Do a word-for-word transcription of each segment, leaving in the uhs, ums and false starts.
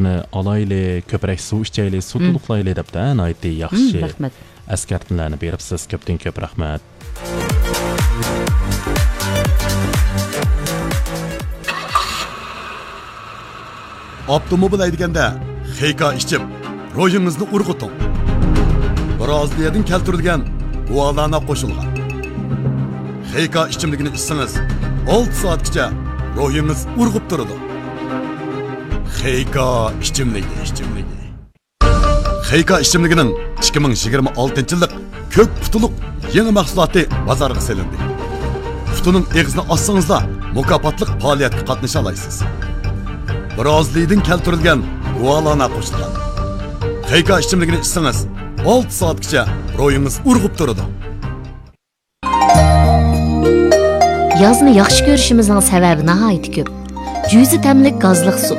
ئالايلى، كۆپرەك سۇ ئىچەيلى، سۇ مم. تولۇقلايلى دەپتە، ناھايىتى ياخشى مم، رەھمەت. ئەسكەرتمىلەرنى بېرىپسىز. كۆپتىن كۆپ رەھمەت. ئاپتوموبىل ھەيدىگەندە خېيكا ئىچىپ، روھىڭىزنى ئۇرغۇتۇڭ. برازىلىيەدىن كەلتۈرۈلگەن گۇالانا قوشۇلغان خېيكا ئىچىملىكىنى ئىچسىڭىز، ئالتە سائەتكىچە روھىڭىز ئۇرغۇپ تۇرىدۇ. خېيكا ئىچىملىكى، ئىچىملىكى. خېيكا ئىچىملىكىنىڭ ئىككى مىڭ يىگىرمە ئالتىنچى يىللىق كۆك پۇتۇلۇق يېڭى مەھسۇلاتى بازارغا سېلىندى. پۇتىنىڭ ئېغىزىنى ئاچسىڭىزلا، مۇكاپاتلىق پائالىيەتكە قاتنىشالايسىز. برازىلىيىدىن كەلتۈرۈلگەن گۇالانا قوشۇلغان خېيكا ئىچىملىكىنى ئىچسىڭىز، ئالتە سائەتكىچە روھىڭىز ئۇرغۇپ تۇرىدۇ. يازنى ياخشى كۆرۈشىمىزنىڭ سەۋەبى ناھايىتى كۆپ. جۈزە تەملىك گازلىق سۇ،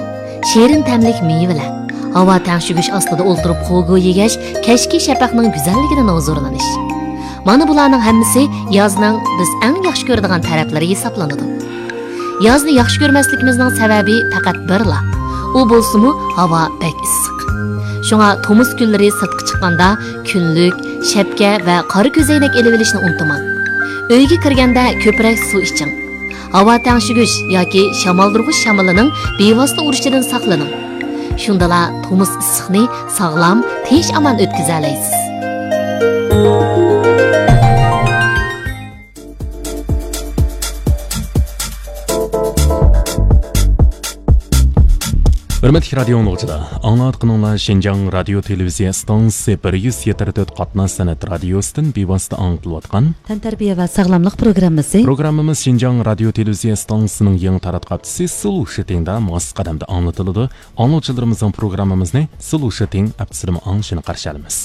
شېرىن تەملىك مېۋىلەر، ھاۋا تەڭشىگۈچ ئاستىدا ئولتۇرۇپ خۇگو يېگەچ، كەچكى شەپەقنىڭ گۈزەللىكىدىن ھۇزۇرلىنىش. مانا بۇلارنىڭ ھەممىسى يازنىڭ بىز ئەڭ ياخشى كۆرىدىغان تەرەپلىرى ھېسابلىنىدۇ. يازنى ياخشى كۆرمەسلىكىمىزنىڭ سەۋەبى پەقەت بىرلا، ئۇ بولسىمۇ ھاۋا بەك ئىسسىق. شۇڭا تومۇز كۈنلىرى سىرتقا چىققاندا، كۈنلۈك، شەپكە ۋە قارا كۆزەينەك ئېلىۋېلىشنى ئۇنتۇماڭ. ئۆيگە كىرگەندە كۆپرەك سۇ ئىچىڭ. ھاۋا تەڭشىگۈچ ياكى شامالدۇرغۇچ شامىلىنىڭ بىۋاسىتە ئۇرۇشىدىن ساقلىنىڭ. شۇندىلا تومۇز ئىسسىقنى ساغلام، تىنچ-ئامان ئۆتكۈزەلەيسىز. ھۆرمەتلىك رادىيو ئاڭلىغۇچىلار، ئاڭلاۋاتقىنىڭلار شىنجاڭ رادىيو تېلېۋىزىيە ئىستانسىسى بىر يۈز يەتتە تۆت قاتناش سەنئەت رادىيوسىدىن بىۋاسىتە ئاڭلىتىلىۋاتقان تەنتەربىيە ۋە ساغلاملىق پروگراممىسى. پروگراممىمىز شىنجاڭ رادىيو تېلېۋىزىيە ئىستانسىسىنىڭ يېڭى تاراتقۇ ھەپتىسى سلو شىتىڭدا ماس قەدەمدە ئاڭلىتىلىدۇ. ئاڭلىغۇچىلىرىمىزنىڭ پروگراممىمىزنى سلو شىتىڭ ئەپتىسىدىمۇ ئاڭلىشىنى قارشى ئالىمىز.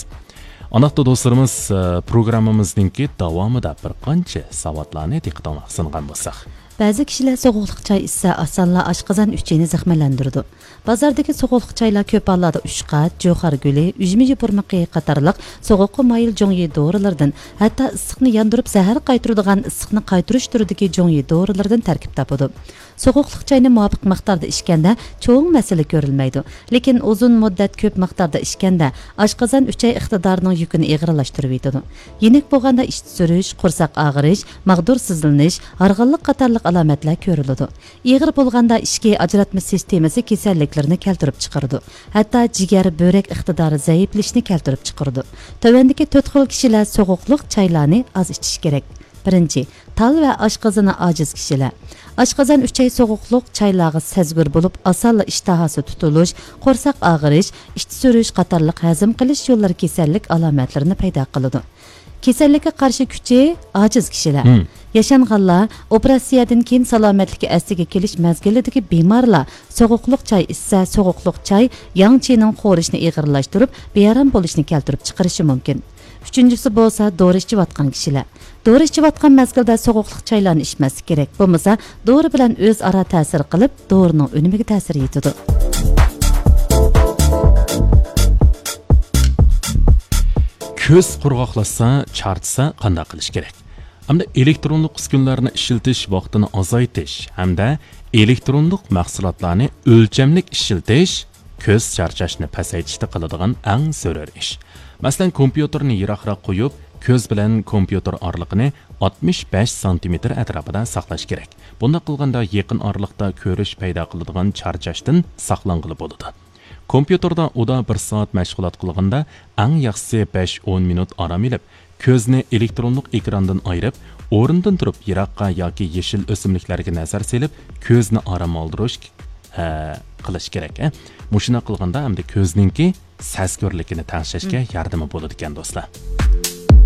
ئانداقتا دوستلىرىمىز، ئە، پروگراممىمىزنىڭكى داۋامىدا بىر قانچە ساۋاتلارنى دىققىتىڭلارغا سۇنغان بولساق. بەزى كىشىلەر سوغۇقلۇق چاي ئىچسە، ئاسانلا ئاشقازان ئۈچىيىنى زەخىملەندۈرىدۇ. بازاردىكى سوغۇقلۇق چايلار كۆپ ھاللاردا ئۇشقاچ، جۇخار گۈلى، ئۈجمە يوپۇرمىقى قاتارلىق سوغۇققا مايىل جۇڭيى دورىلىرىدىن، ھەتتا ئىسسىقنى ياندۇرۇپ زەھەر قايتۇرىدىغان ئىسسىقنى قايتۇرۇش تۈرىدىكى جۇڭيى دورىلىرىدىن تەركىب تاپىدۇ. سوغۇقلۇق چاينى مۇۋاپىق مىقداردا ئىچكەندە چوڭ مەسىلە كۆرۈلمەيدۇ. لېكىن ئۇزۇن مۇددەت كۆپ مىقداردا ئىچكەندە ئاشقازان ئۈچەي ئىقتىدارىنىڭ يۈكىنى ئېغىرلاشتۇرۇۋېتىدۇ. يېنىك بولغاندا ئىچتە سۈرۈش، قورساق ئاغرىش، ماغدۇرسىزلىنىش، ھارغىنلىق قاتارلىق ئالامەتلەر كۆرۈلىدۇ. ئېغىر بولغاندا ئىچكى ئاجراتما سىستېمىسى كېسەللىكلىرىنى كەلتۈرۈپ چىقىرىدۇ. ھەتتا جىگەر، بۆرەك ئىقتىدارى زەئىپلىشىشنى كەلتۈرۈپ چىقىرىدۇ. تۆۋەندىكى تۆت خىل كىشىلەر سوغۇقلۇق چايلارنى ئاز ئىچىشى كېرەك. بىرىنچى، تال ۋە ئاشقازىنى ئاجىز كىشىلەر. ئاشقازان ئۈچەي سوغۇقلۇق چايلارغا سەزگۈر بولۇپ، ئاسانلا ئىشتىھاسى تۇتۇلۇش، قورساق ئاغرىش، ئىچتە سۈرۈش قاتارلىق ھەزىم قىلىش يوللىرى كېسەللىك ئالامەتلىرىنى پەيدا قىلىدۇ. كېسەللىككە قارشى كۈچى ئاجىز كىشىلەر. مم. ياشانغانلار، ئوپېراتسىيەدىن كېيىن سالامەتلىككە ئەسلىگە كېلىش مەزگىلىدىكى بىمارلار سوغۇقلۇق چاي ئىچسە، سوغۇقلۇق چاي ياڭ چىنىڭ خورىشىنى ئېغىرلاشتۇرۇپ، بىئارام بولۇشنى كەلتۈرۈپ چىقىرىشى مۇمكىن. ئۈچىنچىسى بولسا دورا ئىچىۋاتقان كىشىلەر. دورا ئىچىۋاتقان مەزگىلدە سوغۇقلۇق چايلارنى ئىچمەسلىك كېرەك. بولمىسا، دورا بىلەن ئۆزئارا تەسىر قىلىپ، دورىنىڭ ئۈنۈمىگە تەسىر يېتىدۇ. كۆز قۇرغاقلاشسا، چارچىسا قانداق قىلىش كېرەك؟ ئەمدى ئېلېكترونلۇق ئۈسكۈنىلەرنى ئىشلىتىش ۋاقتىنى ئازايتىش ھەمدە ئېلېكترونلۇق مەھسۇلاتلارنى ئۆلچەملىك ئىشلىتىش كۆز چارچاشنى پەسەيتىشتە قىلىدىغان ئەڭ زۆرۈر ئىش. مەسىلەن، كومپيۇتېرنى يىراقراق قويۇپ، كۆز بىلەن كومپيۇتېر ئارىلىقىنى ئاتمىش بەش سانتىمېتىر ئەتراپىدا ساقلاش كېرەك. بۇنداق قىلغاندا يېقىن ئارىلىقتا كۆرۈش پەيدا قىلىدىغان چارچاشتىن ساقلانغىلى بولىدۇ. كومپيۇتېردا ئۇدا بىر سائەت مەشغۇلات قىلغاندا، ئەڭ ياخشىسى بەش ئون مىنۇت ئارام ئېلىپ، كۆزنى ئېلېكترونلۇق ئېكراندىن ئايرىپ، ئورنىدىن تۇرۇپ يىراققا ياكى يېشىل ئۆسۈملۈكلەرگە نەزەر سېلىپ، كۆزنى ئارام ئالدۇرۇش، ھە، قىلىش كېرەك، ھە. مۇشۇنداق قىلغاندا ئەمدى كۆزنىڭكى سەزگۈرلۈكىنى تەڭشەشكە مم. ياردىمى بولىدىكەن، دوستلار.